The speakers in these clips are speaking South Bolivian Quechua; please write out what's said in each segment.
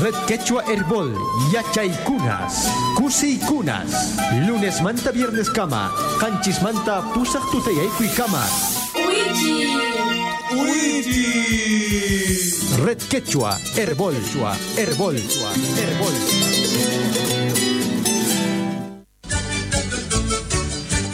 Red Quechua Herbol, Yachaykunas, Kusiykunas, lunes manta viernes kama, qanchis manta pusaq tutayaykuy kama. Red Quechua Herbol, Herbol, Herbol.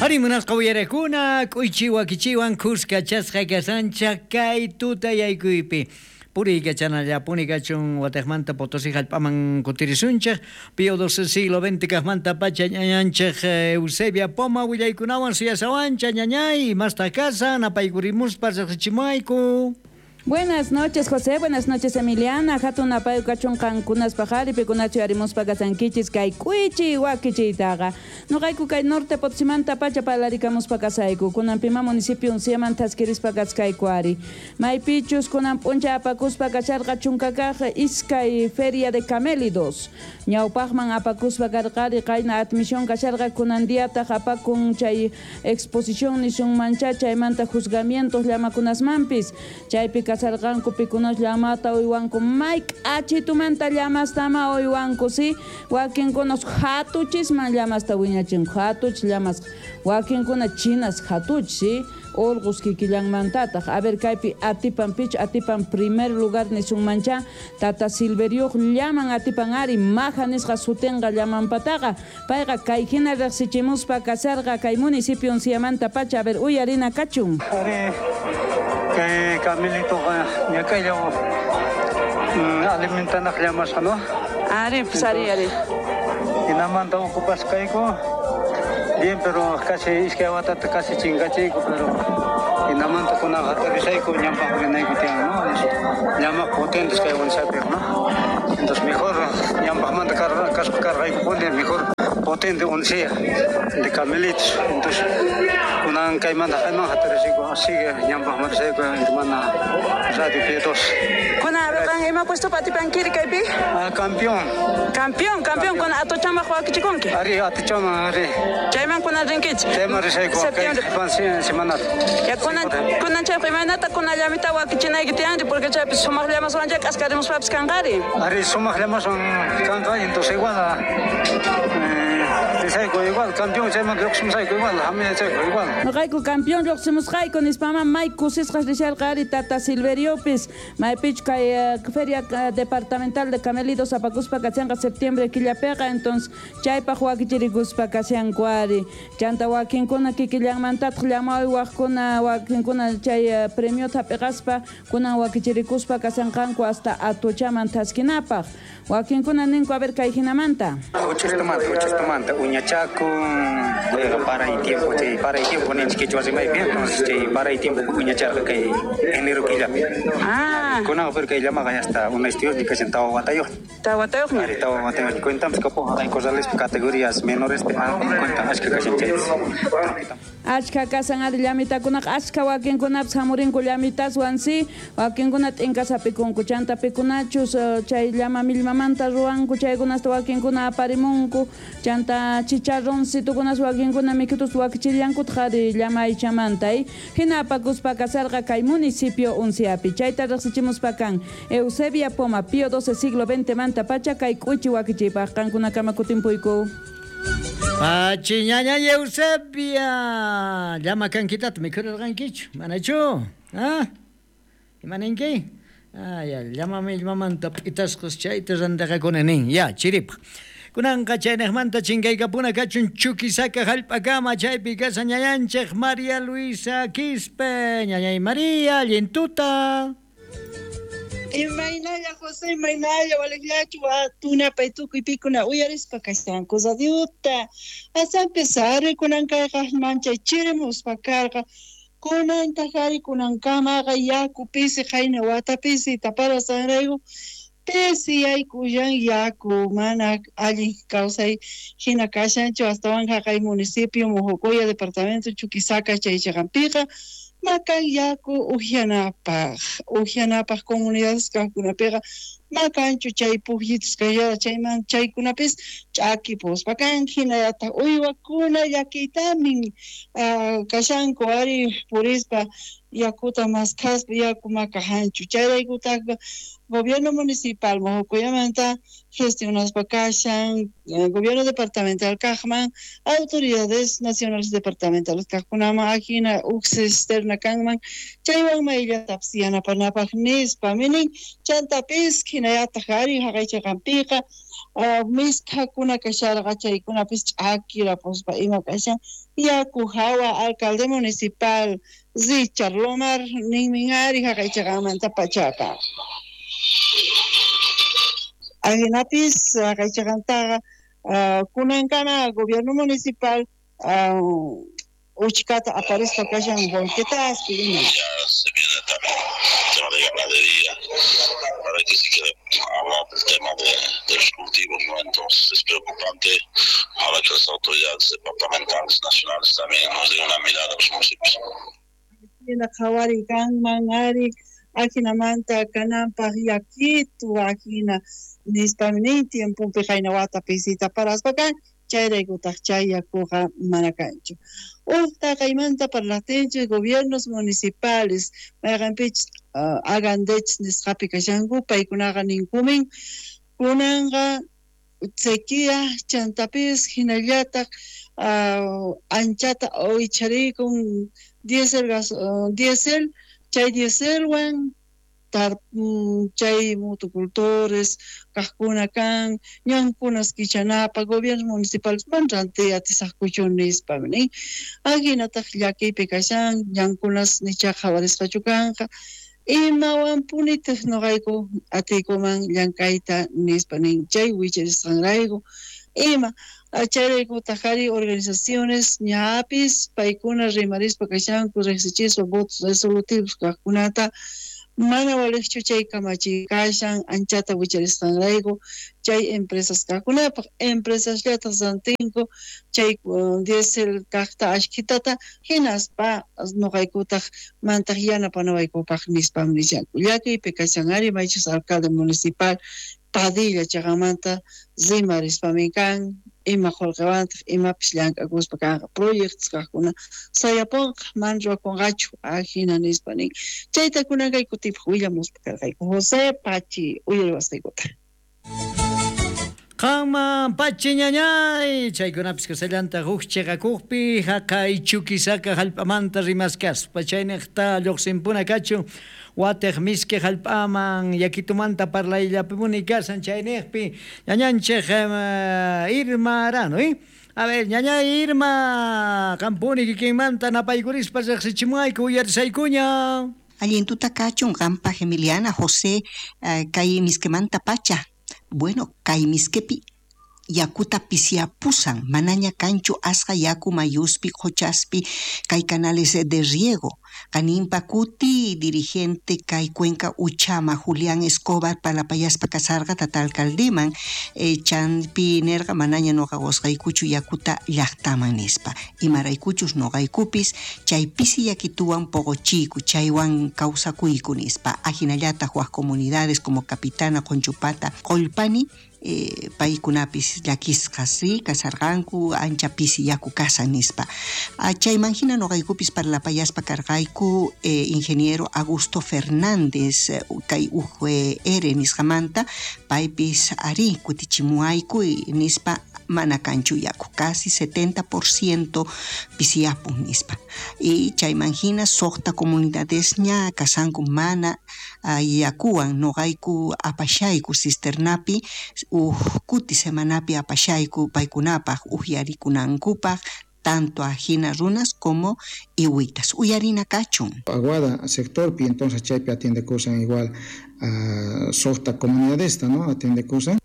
Ari munasqa uyarakuna, k'uychi wakichiwan kuskachasqa kasancha kay tutayaykuypi. Puriykachanallapuni kachun watejmanta Potosí hallp'aman kutirisunchej Pío XII siglo XX kajmanta pacha ñañanchej Eusebia Poma willaykunawan suyasawancha ñañay imastaq kasan apaykurimuspa riqsichimuwayku. Buenas noches, José. Buenas noches, Emiliana. Hatun apayu kachun qankunaspaq ari pikunachu yarimuspa kasankichis kay k'uychi wakichiytaqa. Nuqayku kay norte Potosimanta pacha parlarikamuspa kasayku. Kunan pima municipio Unciaman thaskirispa kachkayku ari. Maypichus kunan p'unchay apakuspa kasharqa chunkakaq iskay feria de camélidos. Ñawpaqman apakuspa karqari qayna admisión kasharqa kunan diataq apakun chay exposición nisunmancha chaymanta juzgamientos llamakunasmanpis. Chaypi kasarqanku pikunas llamata uywanku may k'achitumanta llamastama uywanku si wakinkunas hatuchisman llamasta wiñachinku hatuchis llamas wakinkuna chinas hatuchis si urqus kikillanmantataq a ver kaypi atipan pich atipan primer lugar nisunmancha tata Silveriuq llaman atipan ari maja nisqa sutinqa llamanpataqa payqa kay hina riqsichimuspa kasarqa kay municipio Unciamanta pacha a ver uyarina kachun. Ari kay camelitoqa ñakaylla alimentanaq llamasqa, ¿no? Ari, pues ari, ari. Hinamanta ocupasqayku bien, pero casi iskay watata casi chinkachiyku, pero hinamanta kunaqa hatarisayku ñampaq rinayku tiyan, ¿no? Llamaq potentes kay Unciapiq, ¿no? Entonces mejor ñampaqmanta kaspa karqaykupuni mejor potente Uncia de camelitos. Entonces kunan kaymanta kayman hatarisayku sigue ñampaqmanta risayku hermana Radio P2. Kunan qan ima puesto atipankiri kaypi? Ah, campeón. Campeón, campeón con atochamaq wakichikunki. Ari atochama ari. Chayman kunan rinkichik. Chayman risayku Septiembre. kay semana. Ya kunan kunan chaypi imaynata kunan llamita wakichinayki tiyanri porque chaypi sumaq llamaswan chay k'askarimuspapis kanqari. Ari sumaq llamaswan kanqa entonces igual risayku igual campeón chayman lluqsimusayku igual hamiyachayku igual. Noqayku campeón lluqsimusqayku nispama may kusisqas risharqa ari tata Silveriopis maypichu kay feria departamental de camelidos apakuspa kachanqa septiembre killapiqa entonces chaypaq wakichirikuspa kashanku ari chanta wakinkuna kikillanmantataq llama uywaqkuna wakinkuna chay premiota hap'iqaspa kunan wakichirikuspa kashanqanku hasta atuchaman thaskinapaq wakinkuna ninku a ver kay hinamanta. Uchistamanta uñachakun paray tiempo chay paray tiempo ninchik quechua rimaypi entonces chay paray tiempo uñacharqa kay enero killapi. Ah. Kunan pero kay llamaqa hasta una estudios ni kashan tawa watayuq. Tawa watayuqña. Ari tawa watayuq cuentamos kapuq hay corrales categorías menores cuentan achka kashan chay. Achka kasan ari llamitakunaqa achka wakinkunapis hamurinku llamitaswan si wakinkuna t'inkas hapikunku chanta pikunachus chay llama millmamanta ruwanku chaykunasta wakinkuna aparimunku chanta chicharroncitukunas wakinkuna mikhutus wakichillankutaq ari llama aychamanta hina apakuspa kasarqa kay municipio Unciapi chayta riqsichimuspa kan Eusebia Poma Pío XII siglo XX manta pacha kay k'uchi wakichiypaq qankunakama kutimpuyku. Pachi ñaña Eusebia, llama kankitata mikhurirqankichu, manachu? Ah? Imaninki? Ah, ya, llama millmamanta p'itasqas chayta rantiqakuna nin, ya, chiripaq. Kunanqa chaynejmanta chinkaykapuna kachun Chuquisaca hallp'akama chaypi kasa ñañanchej María Luisa Quispe, ñañay María, allintuta. Imaynalla José, imaynalla waliqllachu tunapay tukuy pikuna uyarispa kashanku radiota. Asanpis ari kunan kayqa manchay chirimuspa karqa. Kunantaq ari kunankamaqa yaku pisi qayna wata pisi taparasanrayku pisi yaykullan yaku mana allin kawsay hina kashanchu astawan haqay municipio Mojocoya departamento Chuquisaca chay chiqanpiqa makan yaku uhianapaq comunidades kaqkunapiqa Makanchu chay pujyitus kasharqa chayman chaykunapis ch'akipuspa kan hinallataq uywakuna llakiytamin kashanku ari purispa yakuta maskhaspa yaku makahanchu chayraykutaq gobierno municipal Mojocoyamanta gestionaspa kashan gobierno departamental kaqman autoridades nacionales departamentales kaqkunaman ajina uj cisterna kanman chaywan mayllatapis yanapanapaq nispa minin chantapis hinallataq ari haqaychaqanpiqa misk'akuna kasharqa chaykunapis ch'akirapuspa ima kashan yaku hawa alcalde municipal Richard Lomar ninmin ari haqaychaqanmanta pachaqa. Ajinapis haqaychaqantaqa kunankama gobierno municipal uchkata aparispa kashan volquetaspi ima. Ya se viene también el tema de ganadería, para que se quiere hablar del tema de los cultivos, ¿no? Entonces es preocupante ahora que las autoridades departamentales, nacionales también nos den una mirada a los municipios. Hina qhawari kanman ari ajinamanta kananpaq yakitu ajina nispami nin tiempopi qayna wata pisita paraspa kan chayraykutaq chay yakuqa mana kanchu. Uj taqaymanta parlaqtinchik gobiernos municipales mayqanpichus agandechis nisqapi kashanku paykunaqa ninkumin kunanqa sequía chantapis hinallataq anchata wicharikun diésel diésel chay dieselwan chay motocultores kaqkuna kan ñankunas kichanapaq gobiernos municipales man rantiy atisaqkuchu nispa nin ajinataq llakiypi kashan ñankunas nicha qhawarisqachu kanqa imawanpunitaq nuqayku atiykuman llank'ayta nispa nin chay wicharisqanrayku ima chayraykutaq ari organizaciones ñapis paykuna rimarispa kashanku riqsichispa votos resolutivos kaqkunata mana waliqchu chay kamachiy kashan anchata wicharisqanrayku chay empresas kaqkunapaq empresasllataq rantinku chay diésel kaqta ashkhitata hinaspa nuqaykutaq mantaq yanapanawaykupaq nispam nishanku llakiypi kashan ari maychus alcalde municipal Padilla chaqanmanta rimarispamin kan ima qullqiwantaq imapis llank'akuspa kanqa proyectos kaqkuna sayapunqa mana ruwakunqachu ajina nispa nin chayta kunan kay kutipaq willamuspa karqayku José Pachi uyariwasqaykuta. Qanman Pachi ñañay chaykunapis kasallantaq huk chiqakuqpi haqay Chuquisaca hallp'amanta rimaskaspa chayniqta lluqsinpuna kachun watiq miski hallp'aman yakitumanta parlayllapipuni kasan chayniqpi ñañanchik Irma Arano, A ver, ñañay Irma, qampuni kikinmanta napaykurispa riqsichimuayku uyarisaykuña. Allin tuta kachun qampaq Emiliana José kay miskimanta pacha. Bueno, kay miskepi yakuta pisiapusan, manaña kanchu asqa yaku mayuspi, qochaspi, kay canales de riego. Kanimpa kuti dirigente kay Cuenca Uchama Julián Escobar palapayaspa kasarqa tata alcaldeman chanpi nerqa manaña noqa qosqaykuchu yakuta llaqtaman nispa. Imaraykuchus noqaykupis chay pisi yakituwan poqochiyku chaywan kawsakuyku nispa. Ajinallataq waj comunidades como Capitana, Conchupata, Qollpani paykunapis llakisqas sí kasarqanku ancha pisi yaku kasan nispa. Chayman hina noqaykupis parlapayaspa karqayku ingeniero Augusto Fernández kay UGR nisqamanta paypis ari kutichimuayku nispa mana kanchu yaku casi 70% pisiyapun nispa. Y chayman hina suqta comunidadesña kasanku mana yakuwan noqayku apashayku cisternapi uj kuti semanapi apashayku paykunapaq uhyarikunankupaq tanto ajina runas como iwitas. Uyarina kachun. Aguada sectorpi entonces chaypi atiende kusan igual suqta comunidadesta, ¿no? Atiende kusan.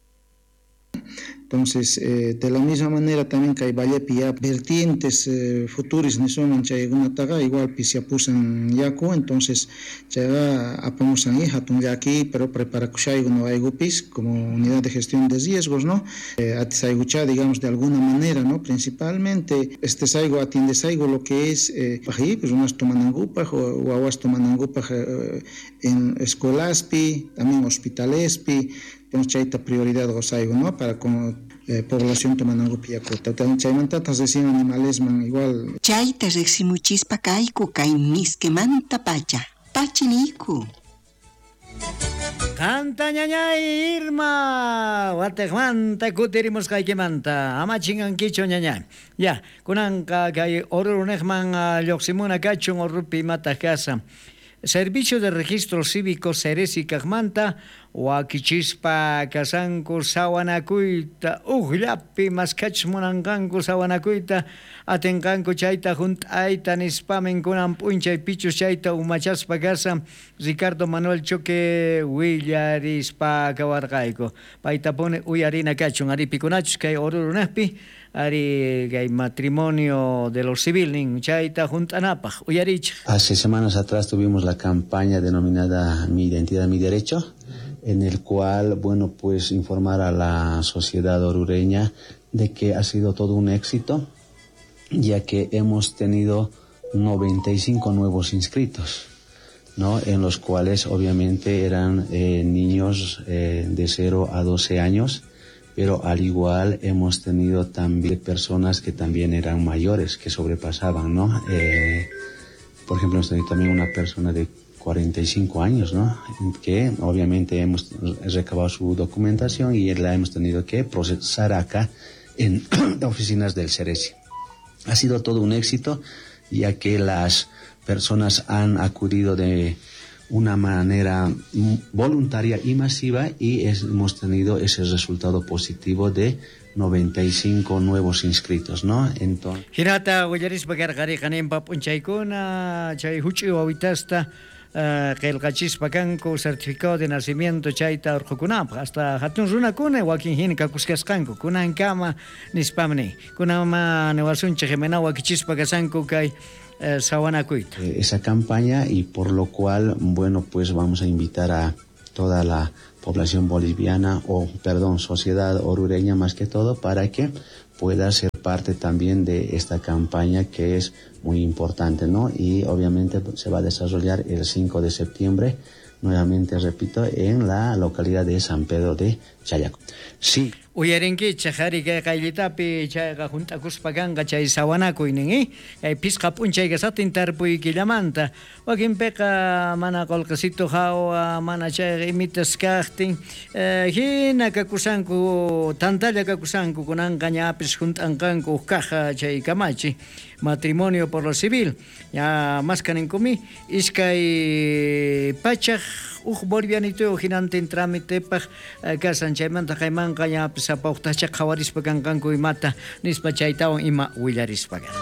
Entonces, de la misma manera también kay vallepi ya vertientes futuris nisuman chaykunataqa igual pisyapusan yaku, entonces chayqa apamusan hatun llaki, pero preparakushayku noqaykupis como unidad de gestión de riesgos, ¿no? Atisaykucha, digamos, de alguna manera, ¿no? Principalmente estesayku atiendesayku lo que es pues unas tomanankupaj wawas tomanankupaj en escuelaspi, también hospitalespi, entonces chayta prioridad gozayku, ¿no? Para con población tomanankupi yakuta. Chaymantatas recién animalesman igual. Chayta riqsimuchispa kayku kay miskemanta pacha. Pachiniku. Qanta ñañay Irma, watejmanta kutirimusqaykimanta, ama chingankichu ñañay. Ya, kunanqa kay Orurunejman lluqsimuna kachun Orurupi imataq kasan. Servicio de Registro Cívico Ceresi kaqmanta wakichispa kasanku sawanakuyta ujllapi maskachus munanqanku sawanakuyta atinqanku chayta hunt'ayta nispamin kunan p'unchay pichus chayta umachaspa kasan Ricardo Manuel Choque willarispa kawarqayku paytapuni uyarina kachun ari pikunachus kay Orurunejpi ari kay matrimonio de lo civil nin chayta hunt'anapaj uyarichej. Hace semanas atrás tuvimos la campaña denominada Mi Identidad, Mi Derecho, en el cual, bueno, pues informar a la sociedad orureña de que ha sido todo un éxito, ya que hemos tenido 95 nuevos inscritos, ¿no? En los cuales obviamente eran niños de 0 a 12 años, pero al igual hemos tenido también personas que también eran mayores, que sobrepasaban, ¿no? Por ejemplo, hemos tenido también una persona de 45 años, ¿no? Que obviamente hemos recabado su documentación y la hemos tenido que procesar acá en oficinas del Ceresi. Ha sido todo un éxito, ya que las personas han acudido de una manera voluntaria y masiva y hemos tenido ese resultado positivo de 95 nuevos inscritos, ¿no? Entonces... Hinata willarispa karqariqa ninpa p'unchaykuna chay huch'uy wawitasta qillqachispa kanku certificado de nacimiento chayta urqukunapaq hasta hatun runakuna wakin hina kakuskasqanku kunankama nispamni kunama niwasunchik imayna wakichispa kasanku kay sawanakuyta. Esa campaña y por lo cual, bueno, pues vamos a invitar a toda la población boliviana o, perdón, sociedad orureña más que todo, para que pueda ser parte también de esta campaña que es muy importante, ¿no? Y obviamente se va a desarrollar el 5 de septiembre, nuevamente repito, en la localidad de San Pedro de Chayaco. Sí. Uyarinkichej ari kay qayllitapi chayqa hunt'akuspa kanqa chay sawanakuynin, kay pisqa p'unchay kasatin tarpuyquillamanta wakinpiqa mana qullqisito hawa mana chayqa imitas kaqtin hina kakusanku tantalla kakusanku kunanqa ñapis hunt'anqanku huk kaja chay kamachi matrimonio por lo civil ya maskaninkumi iskay pachaj uj bolivianito hinantin trámitepaj kasan chaymanta qaymanqa ñapis sapawtacha qhawarispa kanqanku imata nispa chaytawan ima willarispa karqa.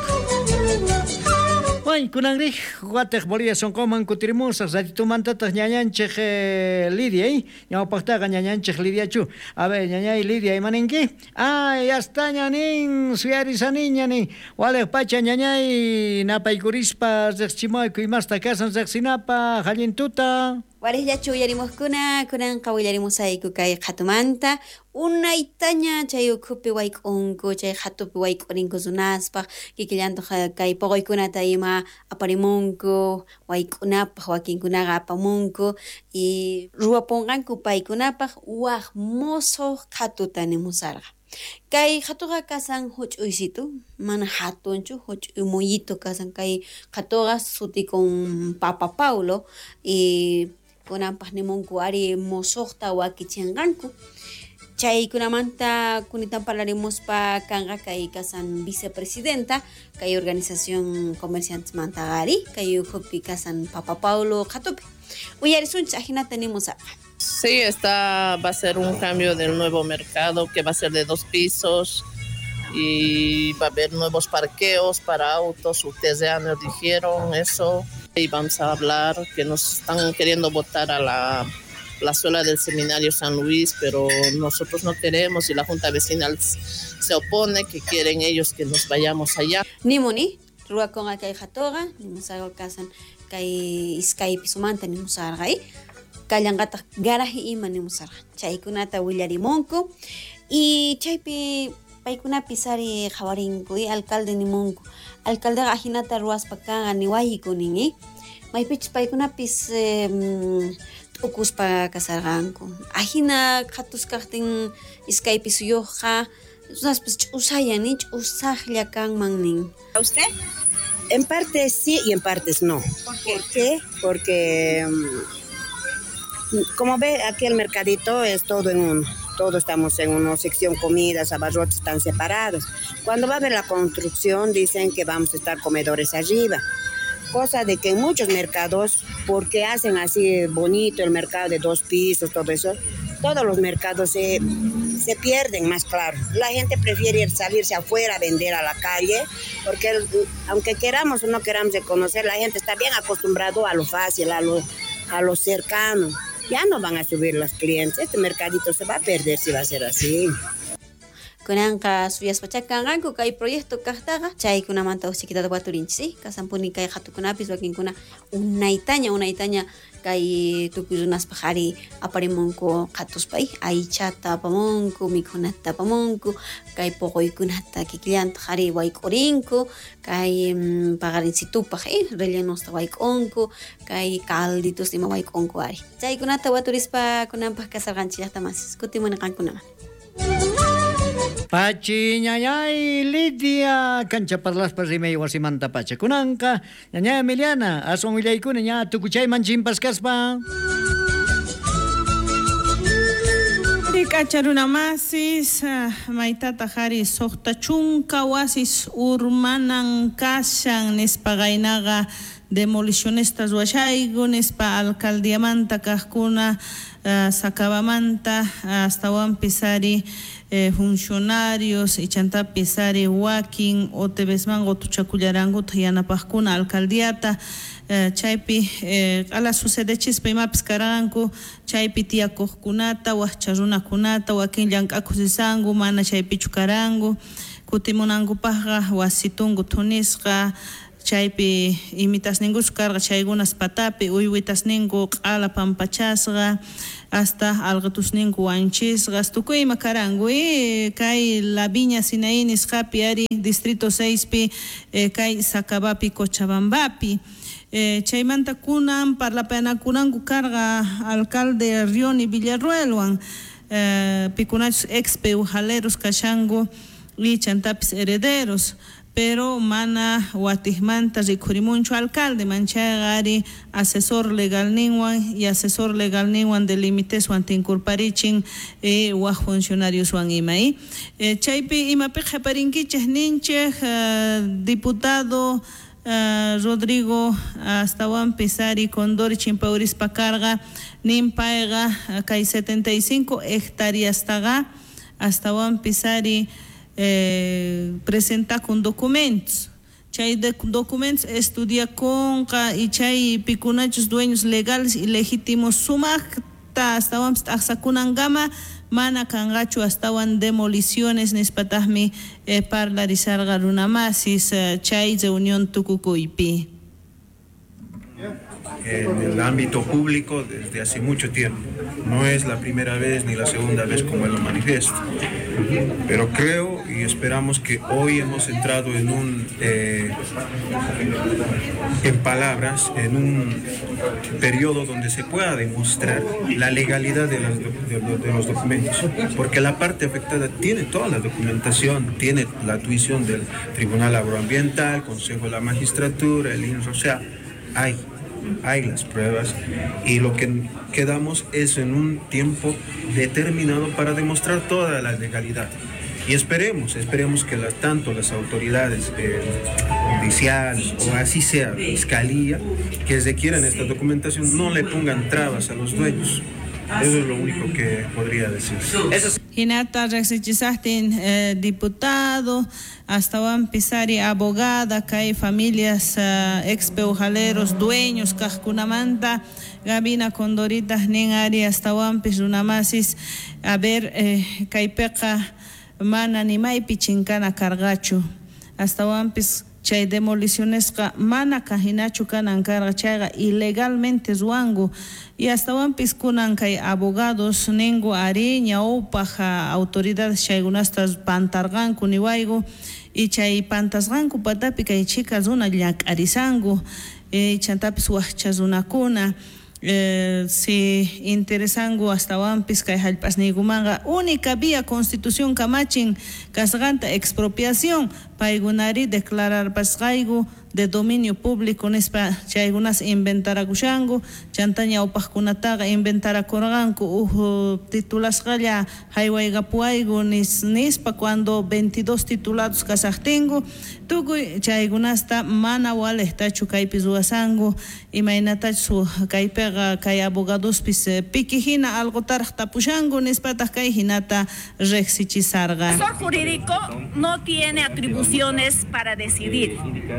Bueno, kunanrij watej Bolivia sonqoman kutirimusaq ratitumantataq ñañanchej Lidia, ñawpaqtaqa ñañanchej Lidiachu. A ver, ñañay Lidia, imaninki? Ah, ya está ñanin, suyarisaniña nin. Walej pacha ñañay napaykurispa riqchimayku imasta kasan riqsinapaq allintuta. Warejllachu uyarimuskuna, kunanqa willarimusayku kay qhatumanta, unaytaña chay ukhupi wayk'unku, chay qhatupi wayk'urinku runaspaq, kikillantaq kay poqoykunata ima aparimunku, wayk'unapaq wakinkunaqa apamunku, y ruwapunqanku paykunapaq waj mosoq qhatuta nimusarqa. Kay qhatuqa kasan huch'uysitu, mana hatunchu, huch'uy muyito kasan kay qhatuqa sutikun Papa Paulo, y kunanpaq nimunku ari mosoqta wakichinqanku. Chaykunamanta kunitan parlarimuspa kanqa kay kasan vicepresidenta kay organización comerciantes mantaqari kay ukhupi kasan Papa Paulo qhatupi. Uyarisunchik ajinata nimusarqa. Sí, va a ser un cambio del nuevo mercado que va a ser de 2 pisos y va a haber nuevos parqueos para autos, ustedes ya nos dijeron eso. Y vamos a hablar que nos están queriendo botar a la plazuela del Seminario San Luis, pero nosotros no queremos y la Junta Vecinal se opone, que quieren ellos que nos vayamos allá. Nimuni, ruwakunqa kay qhatuqa, nimusarqa kasan kay iskay pisumanta nimusarqa, kallanqataq garaje ima nimusarqa. Chaykunata willarimunku y chaypi paykunapis ari qhawarinku, alcalde nimunku. Alcaldeqa ajinata ruwaspa kanqa niwayku nin, maypichus paykunapis t'ukuspa kasarqanku. Ajina qhatus kaqtin iskay pisuyuqqa runaspis ch'usayan, ch'usaqlla kanman nin. ¿A usted? En parte sí y en partes no. ¿Por qué? Porque como ve, aquí el mercadito es todo en uno. Todos estamos en una sección, comidas, abarrotes están separados. Cuando va a haber la construcción, dicen que vamos a estar comedores arriba. Cosa de que en muchos mercados, porque hacen así bonito el mercado de 2 pisos, todo eso, todos los mercados se pierden más claro. La gente prefiere salirse afuera a vender a la calle, porque aunque queramos o no queramos reconocer, la gente está bien acostumbrado a lo fácil, a lo cercano. Ya no van a subir los clientes. Este mercadito se va a perder si va a ser así. Kunanqa suyaspacha kanqanku kay proyecto kaqtaqa chaykunamanta uqchiquitata waturinchis, kasanpuni kay qhatukunapis wakinkuna unaytaña kay tukuy runaspaq ari aparimunku qhatuspa, aychata apamunku, mikhunata apamunku, kay poqoykunata kikillantaq ari wayk'urinku, kay paqarinsitupaq rellenusta wayk'unku, kay calditos ima wayk'unku ari. Chaykunata waturispa kunanpaq kasarqanchis llaqtamasis, kutimuni qankunaman. Pachi ñañay Lidia cancha parlaspa rimay wasimanta pacha kunanqa ñañay Emiliana aswan willaykuna ña tukuchayman chimpasqaspa. Rik'acha runamasis maytataq ari suqta chunka wasis urmanan kashan nispa qaynaqa demolicionistas ruwashayku nispa alcaldiamanta kaqkuna Sacabamanta astawanpis ari funcionarios ichantapis ari wakin OTBsman qutuchakullarankuta yanapaqkuna alcaldiata chaypi q'ala sucedechispa imapis karanku chaypi tiyakuqkunata waqcha runakunata wakin llank'akuq risanku mana chaypichu karanku kutimunankupaqqa wasitunku thunisqa chaypi imitasninkuchu karqa chaykunas patapi uywitasninku q'ala pampachasqa hasta alqitusninku wanchisqa tukuy ima karanku kay La Viña Sinaí nisqapi ari distrito 6pi kay Sacabapi Cochabambapi chaymanta kunan parlapanakunanku karqa alcalde Rioni Villarruelwan pikunachus ex peujaleros kashanku y chantapis herederos pero mana watijmanta rikhurimunchu alcalde manchayqa ari asesor legal ninwan y asesor legal ninwan de limiteswan tinkurparichin waj funcionarioswan ima chaypi imapi qhaparinkichej ninchej diputado Rodrigo astawanpis ari Condori chimpaurispa karqa nin payqa kay 75 hectáreastaqa astawanpis ari presenta con documentos chay documentos estudia conqa y chay pikunachus dueños legales y legítimos sumaqta astawanpis t'aqsakunankama mana kanqachu astawan demoliciones nispataqmi parlarisarqa runamasis chay reunión tukukuypi. En el ámbito público desde hace mucho tiempo. No es la primera vez ni la segunda vez como él lo manifiesta. Pero creo y esperamos que hoy hemos entrado en un, en palabras, en un periodo donde se pueda demostrar la legalidad de los documentos. Porque la parte afectada tiene toda la documentación, tiene la tuición del Tribunal Agroambiental, Consejo de la Magistratura, el INRO, o sea, hay las pruebas y lo que quedamos es en un tiempo determinado para demostrar toda la legalidad. Y esperemos que tanto las autoridades judiciales o así sea, fiscalía, que requieran esta documentación, no le pongan trabas a los dueños. Eso es lo único que podría decir. Hinata riqsichisaqtin diputado astawanpis ari abogada kay familias ex peujaleros dueños kaqkunamanta Gabina Condorita nin ari astawanpis runamasis a ver kaypiqa mana nimaypi chinkana karqachu astawanpis chay demolicionesqa mana kajinachu kanan karqa chayqa ilegalmente ruwanku y astawanpis kunan kay abogados ninku ari ñawpaj autoridades chaykunasta pantarqanku niwayku y chay pantasqanku patapi kay chika runa llak'arisanku chantapis wajcha runakuna si interesanku astawanpis kay hallp'asniykumanqa única vía constitución kamachin kasqanta expropiación paykunari declararpasqayku de dominio público nispa chaykunas inventarakushanku chanta ñawpaqkunataqa inventarakurqanku uj titulasqalla haywaykapuwayku nispa cuando 22 titulados kasaqtinku tukuy chaykunasta mana walejtachu kaypi ruwasanku imaynatachu kaypiqa kay abogadospis piki hina alqutaraq tapushanku nispataq kay hinata riqsichisarqa. El asesor jurídico no tiene atribuciones para decidir.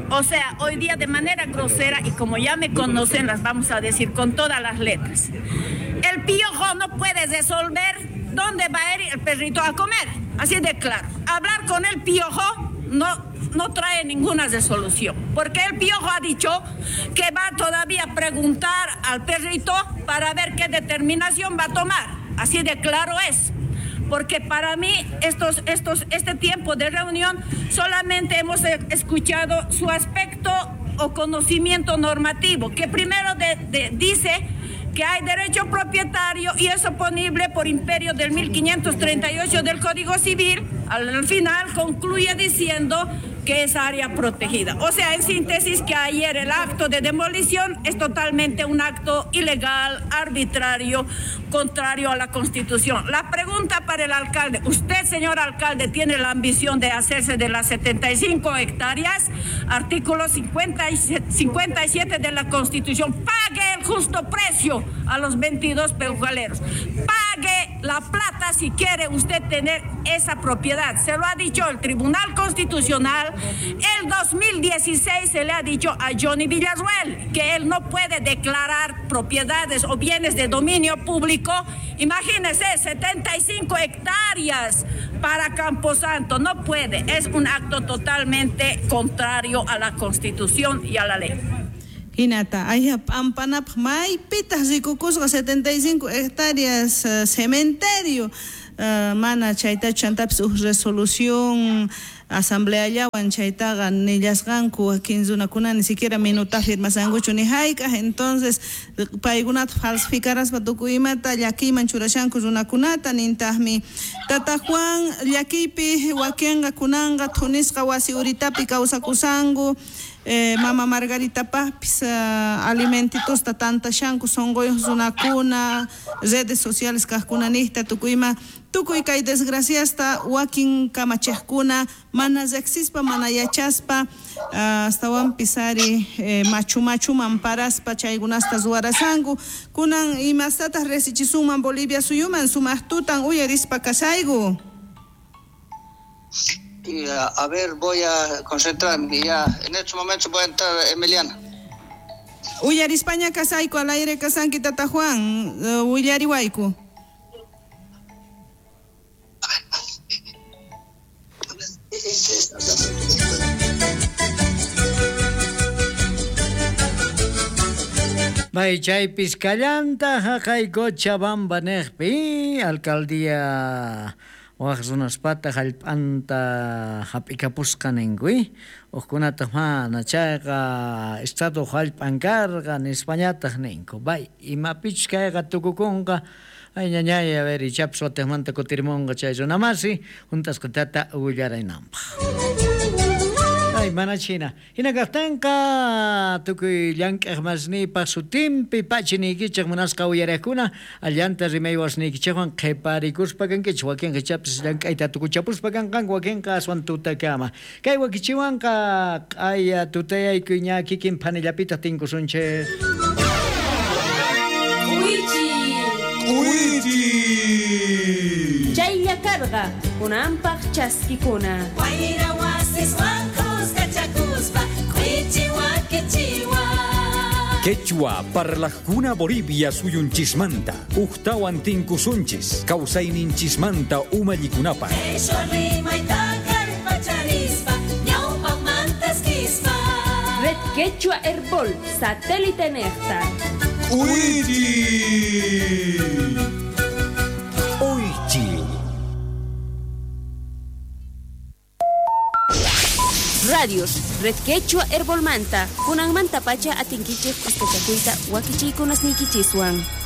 O sea, hoy día de manera grosera, y como ya me conocen, las vamos a decir con todas las letras. El piojo no puede resolver dónde va a ir el perrito a comer. Así de claro. Hablar con el piojo no trae ninguna resolución, porque el piojo ha dicho que va todavía a preguntar al perrito para ver qué determinación va a tomar. Así de claro es. Porque para mí este tiempo de reunión solamente hemos escuchado su aspecto o conocimiento normativo, que primero dice que hay derecho propietario y es oponible por imperio del 1538 del Código Civil. Al final concluye diciendo que es área protegida. O sea, en síntesis, que ayer el acto de demolición es totalmente un acto ilegal, arbitrario, contrario a la Constitución. La pregunta para el alcalde: usted, señor alcalde, tiene la ambición de hacerse de las 75 hectáreas, artículo 57 de la Constitución. Pague el justo precio a los 22 peujaleros. Pague la plata si quiere usted tener esa propiedad. Se lo ha dicho el Tribunal Constitucional. El 2016 se le ha dicho a Johnny Villarruel que él no puede declarar propiedades o bienes de dominio público. Imagínese, 75 hectáreas para Camposanto. No puede. Es un acto totalmente contrario a la Constitución y a la ley. Hinata, ayha p'ampanapaq maypitaq rikukusqa 75 hectáreas cementerio mana chaytachu chantapis uj resolución asambleallawan chaytaqa nillasqanku wakin runakuna ni siquiera minuta firmasankuchu ni hayk'aq entonces paykunata falsificaraspa tukuy imata llakiyman churashanku runakunata nintaqmi Tata Juan llakiypi wakinqa kunanqa thunisqa wasi uritapi kawsakusanku Mama Margarita pajpis alimentitosta tantashanku sonqoyuq runakuna redes sociales kaqkunanijta tukuyma tukuy kay desgraciasta wakin kamachiqkuna mana riqsispa mana yachaspa astawanpis ari machu machuman paraspa chaykunasta ruwarasanku kunan imastataq risichisunman Bolivia suyuman sumaq tutan uyarispa kasayku. Y a ver, voy a concentrarme ya. En estos momentos voy a entrar, Emiliana. Uyarispaña kasayku al aire kasanki Tata Juan, willariwayku. May chaypis kallanta haqay Cochabamba neqpi alcaldía waq runaspata hallp'anta hap'ikapusqa ninku uqkunataq mana chayqa estado hallp'an karqa nispañataq ninku bay imapichus kayqa tukukunqa ay ñañay a ver ichapis watiqmanta kutirmunqa chay runamasi hunt'asqatata willaraynanpaq. Ay, mana china. Hina kaqtinqa tukuy llank'aq masniypaq sutinpi pachiniykichik munasqa uyariqkuna allanta rimaywasniykichikwan qhiparikuspa kankichik wakinqa ichapis llank'ayta tukuchapuspa kanqanku wakinqa aswan tutakama. Kay wakichiwanqa q'aya tutayaykuy ña kikin phanillapitaq tinkusunchik. K'uichi. Chaylla karqa kunanpaq chaskikuna. Wayra wasiswan. Quechua parlajkuna Bolivia suyunchismanta ujtawan tinkusunchis kawsayninchismanta umallikunapaq. Red Quechua Herbol, satélite nefta. Uichi. Oichi. Radios, Red Quechua Herbolmanta, kunanmanta pacha atinkichej kuskachakuyta wakichiykunasniykichiswan.